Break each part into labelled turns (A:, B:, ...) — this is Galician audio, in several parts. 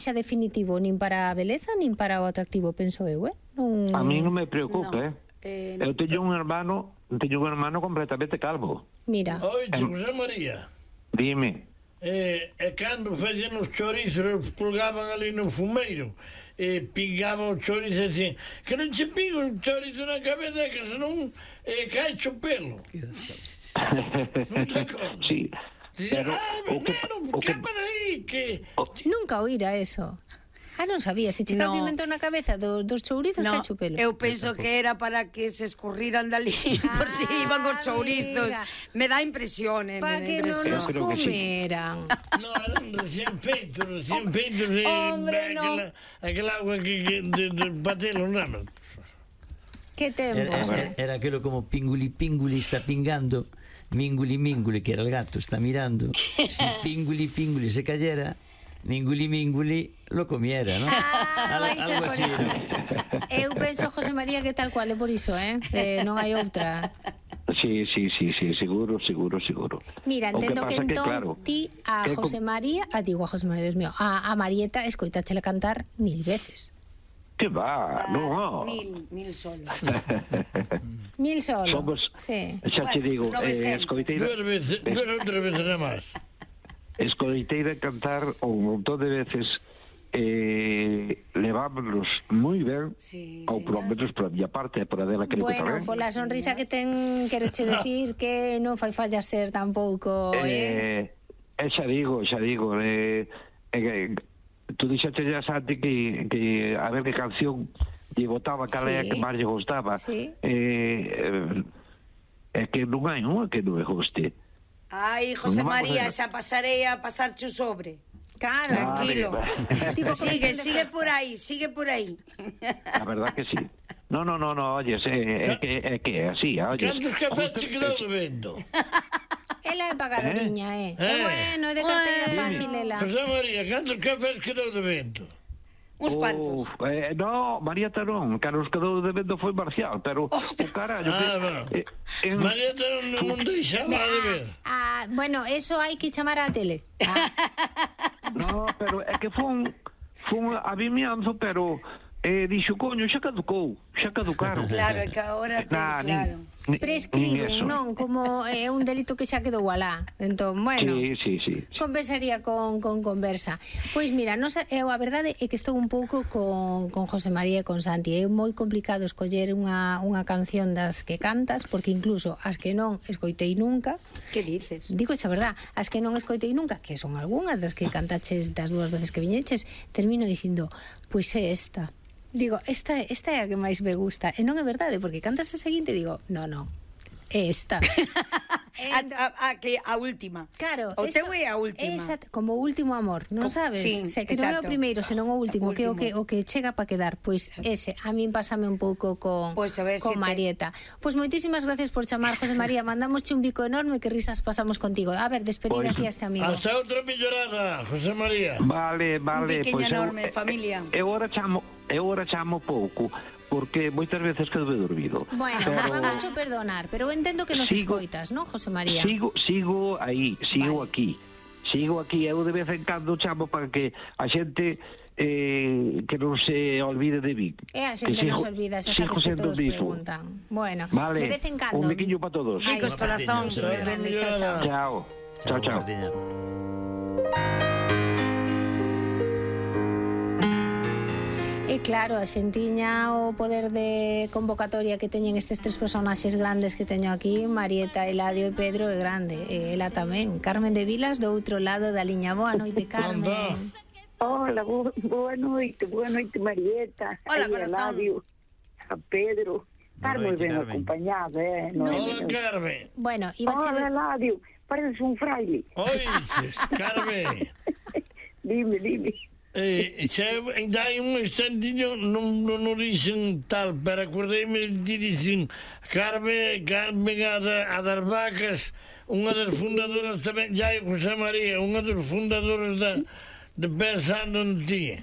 A: xa definitivo nin para a beleza nin para o atractivo, penso eu,
B: A mí non me preocupa, Eu teño un hermano completamente calvo.
A: Mira.
C: Oye, José María.
B: Dime.
C: E cando facían os chorizos, os colgaban ali no fumeiro, e pingaban o chorizo assim, que non che pingo un chorizo na cabeza, que senón cae o pelo. Non te acordas?
B: Sí.
C: Pero, que para aí, que...
A: Nunca oíra eso. Non sabía, se che cae pimento na cabeza dos chourizos, cae o pelo.
D: Eu penso que era para que se escurriran dali por si iban os chourizos. Me dá impresión.
A: Para que non nos comeran.
C: No, eran recién feitos,
A: Hombre, no.
C: Aquela agua que de patelo, non.
A: Que tempos,
E: Era aquilo como pinguli, está pingando, minguli, que era el gato, está mirando. Si pinguli, se cayera, minguli, lo comiera, ¿no?
A: Algo así, ¿no? Eu penso, José María, que tal cual é por iso, non hai outra.
B: Sí, seguro.
A: Mira, entendo que entón claro, ti a José María, digo a José María, Dios mío, a Marieta escoitáchela cantar 1000 veces.
B: Que va, no.
D: 1000 solo.
A: 1000 solo.
B: Somos,
A: sí.
B: Xa te digo, escoiteira.
C: 2 veces nada máis.
B: Escoiteira cantar un montón de veces, levámonos moi ben, ou por lo menos por a miña parte, por a dela creo que tamén.
A: Bueno, pola sonrisa que ten, quero che decir que non fai falla ser tampouco,
B: xa digo, tú dixaste ya, Santi, que a ver que canción lle botaba, cal é a que máis lle gustaba. É que non hai unha que non me guste.
D: Ai, José María, xa pasarei a pasarche o sobre.
A: Claro,
D: tranquilo. Sigue por aí.
B: A verdad que sí. No, oye, é que é así, oye.
C: Cantos cafés se quedou debendo?
A: Ela é pagadoriña, bueno, é de carteira fácil, ela.
C: José María, cantos cafés quedou debendo?
D: Uns cuantos.
B: No, Marieta non, que nos quedou debendo foi Marcial, pero o carallo
C: Marieta non deixaba de ver.
A: Bueno, eso hai que chamar á tele.
B: No, pero é que fun a vimianzo, pero dixo, coño, xa caducaron.
D: Claro, é que agora claro.
A: Prescriben, non? Como é un delito que xa quedou alá. Entón, bueno,
B: sí.
A: Compensaría con conversa. Pois mira, a verdade é que estou un pouco con José María e con Santi. É moi complicado escoller unha canción das que cantas, porque incluso as que non escoitei nunca.
D: Que dices?
A: Digo xa verdad, as que non escoitei nunca, que son algunhas das que cantaches das 2 veces que viñeches, termino dicindo, pois é esta. Digo, esta é a que máis me gusta. E non é verdade, porque cantas a seguinte e digo, no, é esta.
D: A última.
A: Claro.
D: O teu é a última.
A: Como o último amor, non sabes?
D: Sí,
A: que non é o primeiro, senón o último, que o que chega para quedar. Pois ese, a min pásame un pouco con Marieta. Pois moitísimas gracias por chamar, José María. Mandamosche un bico enorme, que risas pasamos contigo. A ver, despedida aquí a este amigo.
C: Hasta outra millorada, José María.
B: Vale.
D: Un biqueño enorme, familia.
B: Eu agora chamo pouco, porque moitas veces quedo dormido.
A: Bueno, vamos a perdonar, pero eu entendo que nos escoitas, non, José María?
B: Sigo aquí. Sigo aquí, eu de vez en cando chamo para que a xente que non se olvide de mí.
A: A xente non se olvida, xa sabes que todos preguntan. Bueno, de vez en cando.
B: Un biquiño para todos.
D: Ricos corazóns.
B: Chao.
A: E claro, a xentiña, o poder de convocatoria que teñen estes 3 personaxes grandes que teño aquí, Marieta, Eladio e Pedro, é grande. E ela tamén. Carmen de Vilas, do outro lado da liña. Boa noite, Carmen.
F: Hola, boa noite, Marieta.
D: Hola, corazón.
F: A Pedro. Estar moi ben acompañada,
C: Hola, Carmen.
A: Bueno,
F: hola, Eladio. Pareces un fraile.
C: Oiches, Carmen.
F: Dime.
C: Ainda hai un instantiño non dicen tal, pero acordeime de dicen Carmen a das vacas, unha das fundadoras tamén, ya é José María, unha das fundadoras de Pensando en Ti.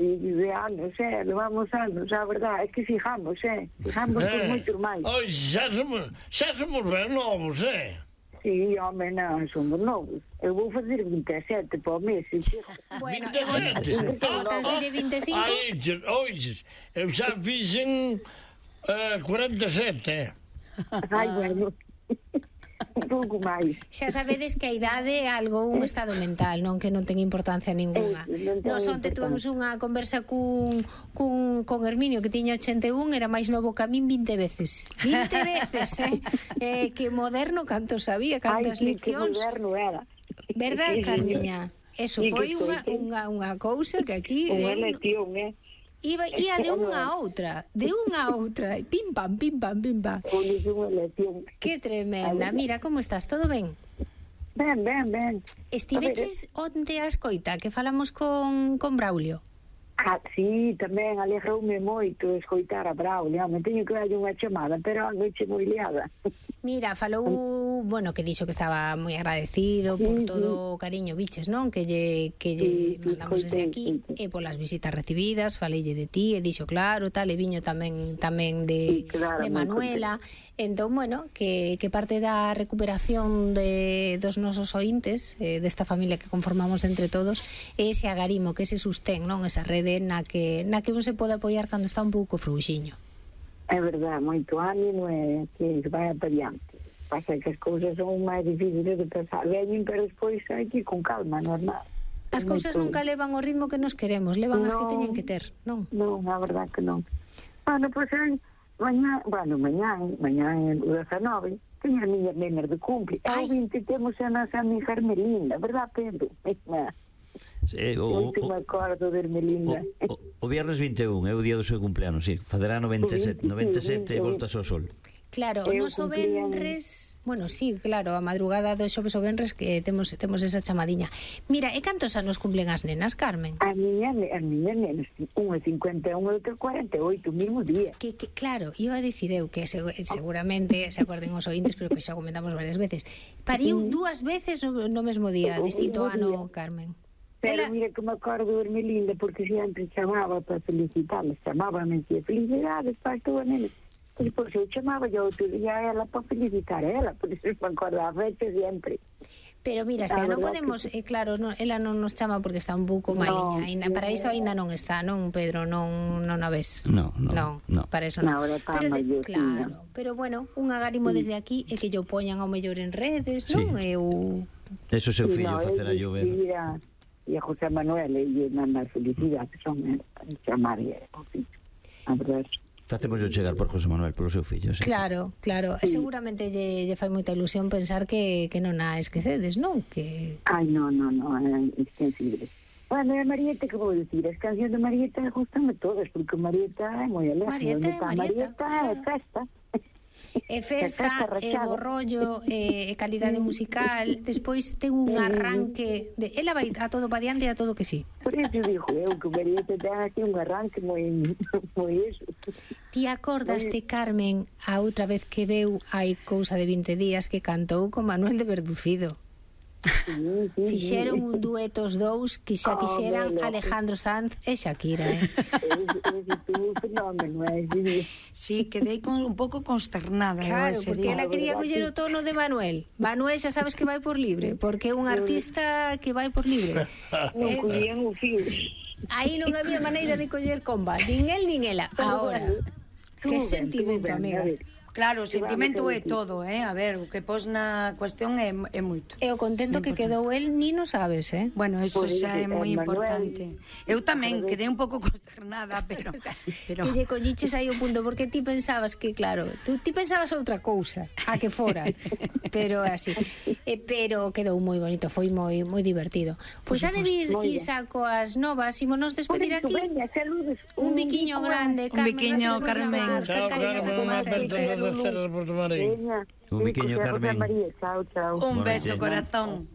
F: De anos, levamos anos, a verdade é que fijamos por moitos máis.
C: Xa somos ben novos,
F: Sí, home, non, somos novos. Eu vou fazer 27 para o mês.
A: Bueno,
C: 27.
A: botanselle 25.
C: Oixes, eu xa fixen 47,
F: Ai, bueno. Un pouco máis.
A: Xa sabedes que a idade é algo un estado mental, non que non ten importancia ninguna. Nos onte tuvemos unha conversa cun Herminio que tiña 81, era máis novo que a min 20 veces. 20 veces, que moderno, canto sabía, cantas leccións.
F: Ai, que moderno era.
A: Verdad, Carmiña? Eso foi unha cousa que aquí...
F: Unha lección,
A: Ia de unha a outra, pim pam, pim pam, pim pam.
F: Unha lección.
A: Que tremenda. Mira, como estás? Todo ben?
F: Ben.
A: Estiveches onte a escoita que falamos con Braulio?
F: Sí, tamén alegroume moito escoitar a Braulio. Me teño que darlle unha chamada, pero a noite moi liada.
A: Mira, falou, bueno, que dixo que estaba moi agradecido por todo o cariño, biches, non? Que lle mandamos desde aquí e polas visitas recibidas, faleille de ti, e dixo claro, tal, e viño tamén de Manuela. Entón, bueno, que parte da recuperación dos nosos ointes, desta familia que conformamos entre todos, é ese agarimo, que ese sostén, non? Esa rede na que un se pode apoiar cando está un pouco fruxiño.
F: É verdade, moito ánimo e que vai para diante. Pasa que as cousas son máis difíciles de pensar. Veñen, pero despois hai que ir con calma, normal.
A: As cousas nunca levan o ritmo que nos queremos, levan as que teñen que ter, non?
F: Non, a verdade que non. Bueno, pois mañá o 19, teño as miñas nenas de cumple. O 20 temos a nosa amiga Hermelinda, verdad, Pedro?
E: Sí,
F: non me acordo de Hermelinda.
E: O viernes 21 é o día do seu cumpleanos, sí. Faderá 97 e voltas ao sol.
A: Claro, o noso venres... Bueno, sí, claro, a madrugada do xoves o venres que temos esa chamadiña. Mira, e cantos anos cumplen as nenas, Carmen?
F: As miñas nenas, unha 51 e outra 48, o mismo día.
A: Que claro, iba a dicir eu que seguramente se acuerden os ointes, pero que xa comentamos varias veces. Pariu dúas veces no mesmo día, distinto ano, Carmen.
F: Pero mira que me acordo de Hermelinda, porque sempre chamaba para felicitarles, chamábame e felicidades para as túas nenas. E depois eu chamaba yo outro día a ela para felicitar a ela, por iso me acordo a fecha sempre.
A: Pero mira, non podemos, claro, ela non nos chama porque está un pouco maliña, para iso ainda non está, non, Pedro, non a ves.
E: No,
A: para iso non.
F: Pero
A: claro, pero bueno, un agarimo desde aquí é que yo poñan ao mellor en redes, non?
E: Eso seu fillo facerá llover.
F: E a José Manuel e mandar felicidades, son chamar a verdade.
E: Facemos chegar por José Manuel, polo seu fillo, sí.
A: Claro, e seguramente lle fai moita ilusión pensar que non a esquecedes, non?
F: Ai, non, é insensible. Bueno, a Marieta, que vou dicir? As cancións de Marieta gustan-me todas, porque Marieta é moi alegre. Marieta é festa.
A: É festa, é bo rollo, é calidade musical. Despois ten un arranque ela vai a todo pa diante e a todo que sí.
F: Por iso digo eu que Marieta ten aquí un arranque moi eso.
A: Ti acordaste, Carmen, a outra vez que veu hai cousa de 20 días que cantou con Manuel de Verducido? Fixeron un dueto os dous que xa quixeran Alejandro Sanz e Shakira,
D: Sí, quedei un pouco consternada.
A: Claro, porque ela quería coller o tono de Manuel. Manuel xa sabes que vai por libre, porque é un artista que vai por libre.
F: Non collían o fío.
A: Aí non había maneira de coller comba, nin el nin ela. Ahora, que sentimento, amiga.
D: Claro, o sentimento é todo, a ver, o que pos na cuestión é moito.
A: E o contento que quedou el ni non sabes,
D: Bueno, eso xa é moi importante. Eu tamén quedei un pouco consternada, pero...
A: Que lle colliches aí o punto, porque ti pensabas que, claro, ti pensabas outra cousa, a que fora, pero así. Pero quedou moi bonito, foi moi divertido. Pois ha de vir Isa coas novas, ímonos despedir aquí. Un biquiño grande, Carmen.
D: Un biquiño, Carmen.
C: Chao, Carmen.
E: Un biquiño, Carmen.
F: Chao.
D: Un beso, corazón.